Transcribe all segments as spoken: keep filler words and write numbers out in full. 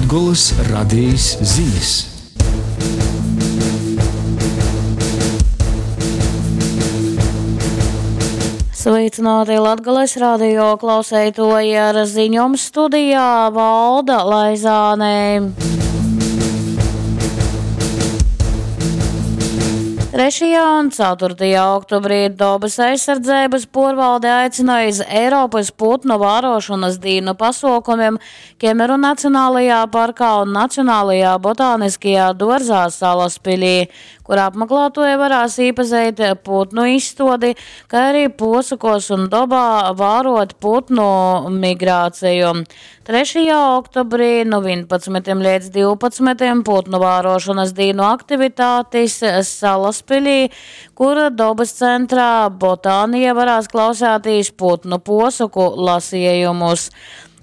Latgolys Radejis zinis. Sveicināti Latgales radio klauseitoji ar ziņom studijā Valda Laizāne. Trešajā un ceturtajā oktobrī Dobas aizsardzeibys puorvalde aicynoj iz Eiropys putnu vārošonys dīnu pasuokumim Kemeru Nacionalajā parkā un Nacionalajā botāniskajā duorzā Salaspilī, kur apmaklātuoji varēs īpazeit putnu izstuodi, kai arī puosokuos un dobā vāruot putnu migrāciju. Trešajā oktobrī nu vienpadsmitim līdz divpadsmitim putnu vārošanas dīnu aktivitātes Salaspilī, kur dobas centrā Botānija varēs klausēties putnu posoku lasījumus.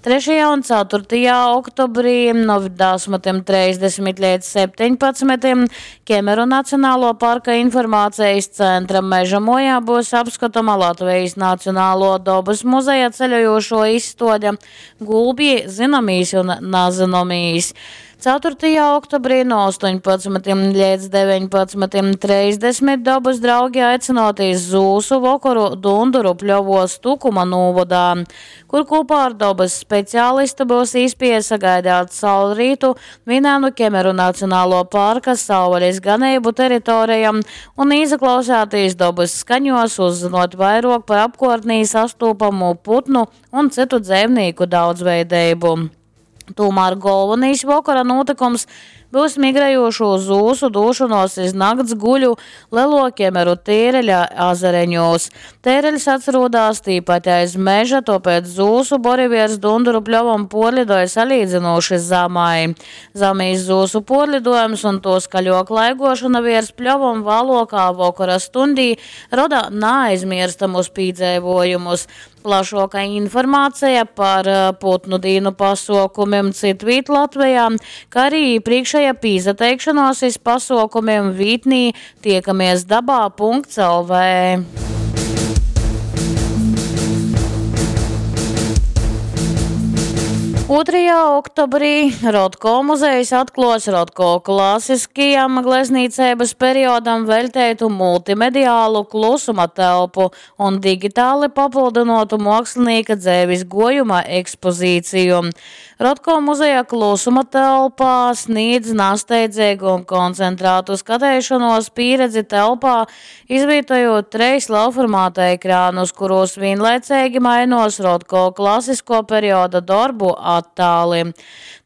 Trešajā un ceturtajā oktobrī no desmitim trīsdesmit līdz septiņpadsmitim Kemeru Nacionālo parka informācijas centra Meža mojā būs apskatoma Latvijas Nacionālo dobas muzeja ceļojošo izstuode Gulbji zināmīs un nazinomīs. Ceturtajā oktobrī no astoņpadsmitim līdz deviņpadsmitim trīsdesmit dabas draugi aicināti iz Zūsu vokoru Dunduru pļovos Tukuma nūvodā, kur kopā ar dabas speciālistu būs iespēja sagaidāt saulrītu vienā no Kemeru Nacionālo parka savvaļas ganību teritorijam un ieklausēties dabas skaņos, uzzinot vairāk par apkārtnī sastopamo putnu un citu dzīvnieku daudzveidību. Tomēr galvenais vakara notikums būs migrējošo zūsu došanos iz nakts guļu Lielo Kemeru tēreļa azareņos. Tēreļs atrodas tīpat aiz meža, tāpēc zūsu boriviers Dunduru pļovam porlidoja salīdzinoši zemai. Zemīs zūsu porlidojums un to skaļo klaigošana virs pļovam vēlākā vakara stundī rada neaizmirstamus piedzīvojumus. Plašāka informācija par putnu dīnu pasaukumiem citvīt Latvijā, kā arī iepriekšējā pīzateikšanos iz pasaukumiem vītnī tiekamies dabā punkts L V. Otrajā oktobrī Rotko muzejs atklos Rotko klasiskajam gleznīcības periodam veltētu multimediālu klusuma telpu un digitāli papildinotu mākslinieka dzēvis gojuma ekspozīciju. Rotko muzeja klusuma telpā sniedz nasteidzīgu un koncentrētu skatēšanos pieredzi telpā, izvietojot treis lielformāta ekrānus, kuros vienlaicīgi mainos Rotko klasisko perioda darbu attāli.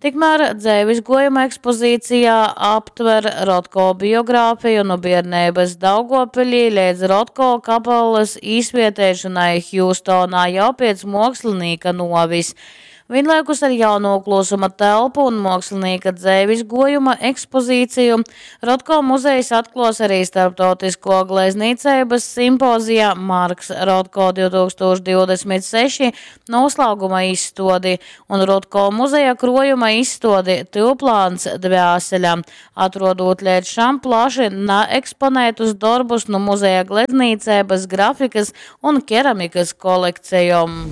Tikmēr dzēvis gojuma ekspozīcijā aptver Rotko biogrāfiju no bērnības Daugopilī līdz Rotko kapelas īsvietēšanai Hjūstonā jau pēc mākslinieka novis. Vienlaikus ar jauno klusuma telpu un mākslinieka dzēvis gojuma ekspozīciju Rotko muzejs atklos arī starptautisko gleznīcības simpozija Marks Rotko divtūkstoš divdesmit seši noslēguma izstodi un Rotko muzeja krojuma izstodi Tilplāns dvēseļa, atrodot līdz šam plaši neeksponētus darbus no muzeja gleznīcības, grafikas un keramikas kolekcijom.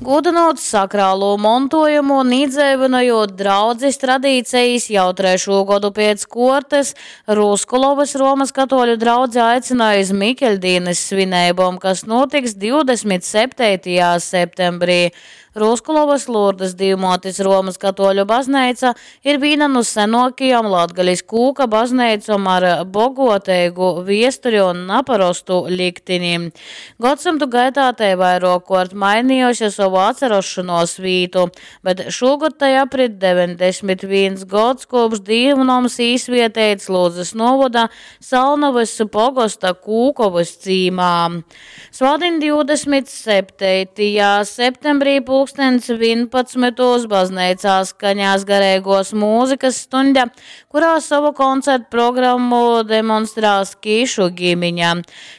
Gūdinot sakrālo montojumu un iedzīvinojot draudzes tradīcijas jau trešo gadu pēc kortes, Ruskulovas Romas katoļu draudze aicināja iz Mikeļdīnes svinībom, kas notiks divdesmit septītajā septembrī. Ruskulovas Lurdas Dīvmotes Romas katoļu baznīca ir viena no senākajām Latgales kūka baznīcām ar bogotīgu viesturi un naparastu liktini. Gadsimtu gaitā te vairākkārt mainījusi savu atcerošanos vītu, bet šogad tai aprit deviņdesmit viens gads kopš dīvnoms īsvietēts Ludzas novada Salnavas pogosta Kūkovas cīmā. Svētdien divdesmit septītajā septembrī pulkstens vienpadsmitos baznīcā skaņās garīgos mūzikas stunda, kurā savu koncertu programmu demonstrās Kišu ģimiņa.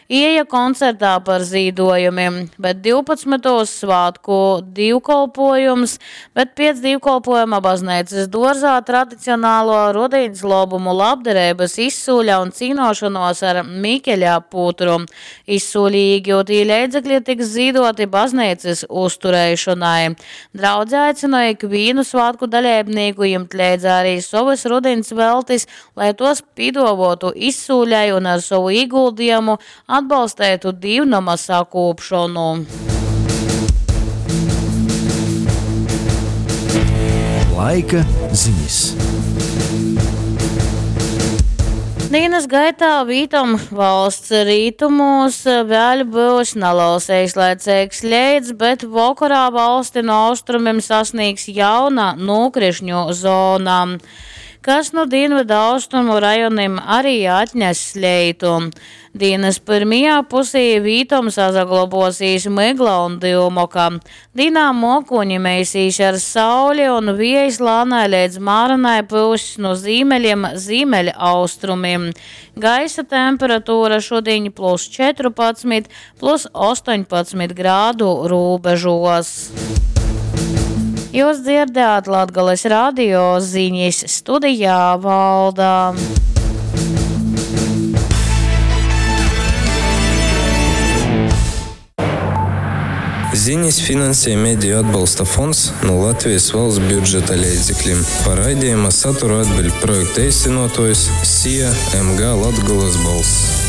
Ieja koncertā par zīdojumiem, bet divpadsmitos svētku dīvkolpuojums, bet piec dīvkolpuojuma bazneicys duorzā tradicionāluo rudiņs lobumu labdareibys izsūle un cīnuošonuos ar Mikeļa putru. Izsūlī īgiutī leidzekli tiks zīduoti bazneicys uztureišonai. Draudze aicynoj ikvīnu svātku daleibnīku jimt leidza arī sovys rudiņs veltis, lai tuos pīduovuotu izsūlei un ar sovu īguldījumu atbalsteitu dīvnoma sakūpšonu. Laika ziņas. Dīnas gaitā vītom valsts rītumos vēļ būs naliels eislaicīgs leits, bet vokorā valsti no austrumiem sasniegs jauna nokrišņu zona, kas nu dienvidu austrumu rajonim arī atnes leitu. Dīnas pirmajā pusē vītom sasaglobosīs mygla un dyumoka. Dīnā muokoņi meisīs ar sauli un viejs lānai leidz māranai pyuss no zīmeļiem zīmeļaustrumiem. Gaisa temperatūra šodien plus četrpadsmit, plus astoņpadsmit grādu robežos. Jūs dzirdējāt Latgales radio ziņas studijā Valda. Ziņas finansē Mediju atbalsta fonds no Latvijas valsts budžeta līdzekļiem. Par raidījuma saturu atbild projekta īstenotājs S I A M G Latgolas balss.